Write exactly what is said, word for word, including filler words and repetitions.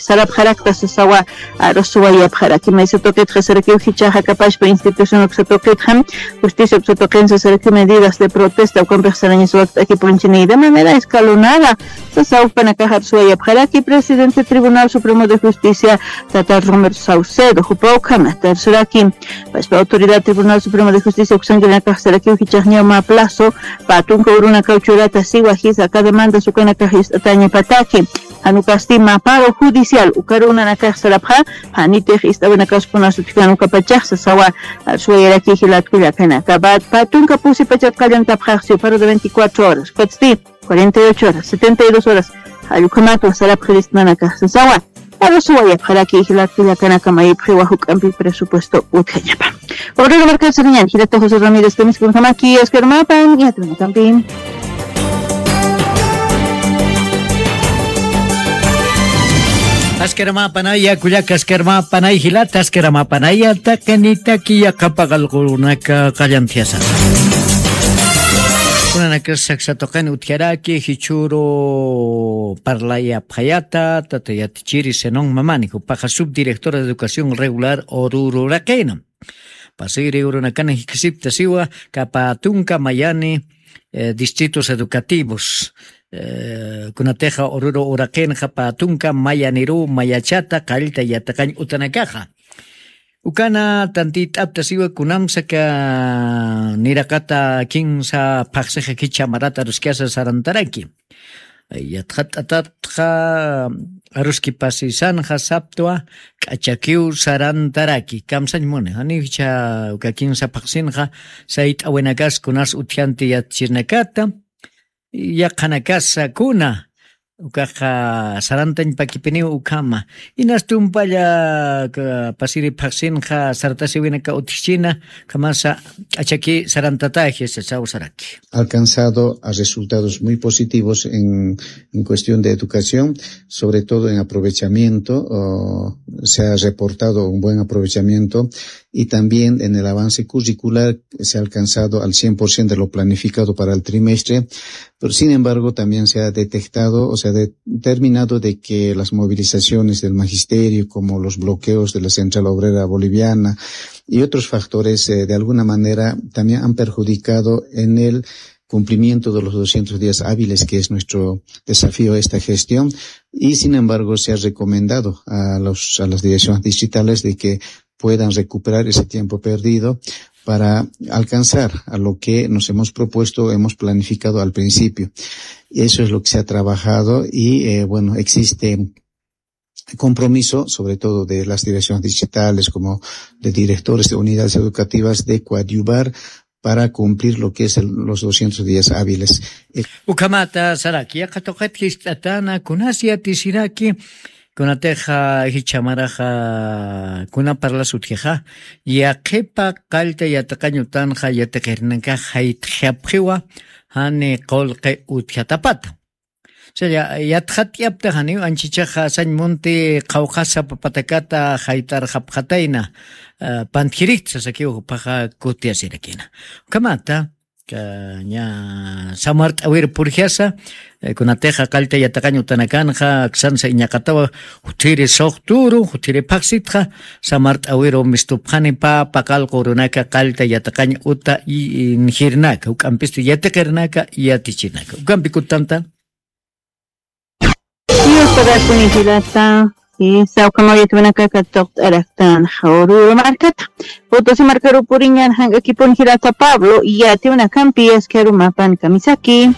sarapxarakta sasawa. Arusuwayapxaraki maysa tuqitxa sarakiw jichaxa kapashpa institución uksa tuqitxa justicia uksa tuqin sasaraki medidas de protesta ukampix sarañasuwakt'akipunchini de manera escalonada. Sasa ukpanakaxa arusuwayapxaraki presidente tribunal supremo de justicia tata romero saucedo jupa ukhama tarsuraki. Pashpa autoridad tribunal supremo de justicia uksankirinakax sarakiw jichaxñaw mä plazo pä tunka urunakaw churata siwa jisa aka demandas ukanakax ist'atañapataki. Janukasti mä paro judicial ukarunanakax sarapxa. Janitix ist'awinakaspuna sutjikan ukapachax sasawa. Suwayaraki jilatkullakanaka pä tunka pusi pachat qallantapxaxsiw paro de veinticuatro horas ukatsti cuarenta y ocho horas setenta y dos horas. Jallukhamatwa sarapxiristnanakax sasawa. Arusuwayapxaraki jilatkullakanaka mayipxiwa juk'ampi presupuesto utjañapa. Obrero markasariñan jilata josé ramírez kamiskunjamaki askar mapan yatrunakampi. Askaramapanaya kullaka askaramapanay jilata askaramapanaya taqinitaki yaqapaqalqurunaka qallantiyasa. Kunanakas saksa tuqin utjaraki jichhuru parlayapxayata tata yatichiri senon mamani jupaxa subdirectora de educación regular ururu raqina. Pasiri urunakana jikisipta siwa kapa tunka mayani distritos educativos kunatixa ururu uraqinxa pä tunka mayaniruw mayachata qallta yatiqañ utanakaxa. Ukana tantit'apta siwa kunamsaka niraqata kinsa phaxsixa kicha marata aruskasa sarantaraki. Yatxat'atatxa aruskipasisanxa saptwa k'achakiw sarantaraki kamsañ muni janiw jichha uka kinsa phaxsinxa sayt'awinakas kunas utjanti yatchirinakata yaqhanakasa kuna ukaxa sarantañ pakipiniw ukhama. Inas tumpalla pasiri phaxsinxa sartasiwinaka utjchina ukhamasa k'achaki sarantataji sasaw saraki. Alcanzado a resultados muy positivos en, en cuestión de educación, sobre todo en aprovechamiento, o se ha reportado un buen aprovechamiento y también en el avance curricular se ha alcanzado al cien por ciento de lo planificado para el trimestre, pero sin embargo también se ha detectado o se ha determinado de que las movilizaciones del magisterio, como los bloqueos de la Central Obrera Boliviana y otros factores, eh, de alguna manera también han perjudicado en el cumplimiento de los doscientos días hábiles, que es nuestro desafío esta gestión. Y sin embargo, se ha recomendado a los, a las direcciones distritales de que puedan recuperar ese tiempo perdido para alcanzar a lo que nos hemos propuesto, hemos planificado al principio. Eso es lo que se ha trabajado y, eh, bueno, existe compromiso, sobre todo de las direcciones distritales, como de directores de unidades educativas, de coadyuvar para cumplir lo que es el, los doscientos días hábiles. Ukhamata saraki, yaqha tuqit jist'atana, kunas yatisiraki, kunatixa jichha maraxa, kuna parlas utjixa, yaqhipa qallta yatiqañ utanxa yatiqirinakax jayt'xapxiwa, jani qullqi utjatapata. Chaya, yatxat'yapta janiw anchichaxa sañ munti qhawqhasa papatakata jayt'arxapxatayna, pantjirikta sasakiw juphaxa kutiyasirakina. Ukhamata, ña samart'awir purjasa, kunatixa qallta yatiqañ utanakanxa, aksansa iñaqatawa, juthiri suxturu, juthiri phaxsitxa, samart'awiru mistupxani pä paqallqu urunaka qallta yatiqañ uta, injirnaka, uk'ampisti yatiqirnaka, yatichirnaka. Ukampi kutanta. Dios pagakuni jilata. Sawka mawiyat winakaka tuqt'araktan jawruru markata. Potosí markaru puriñan jank'akipun jilata Pablo yati winakampi askaru mapan kamisaki.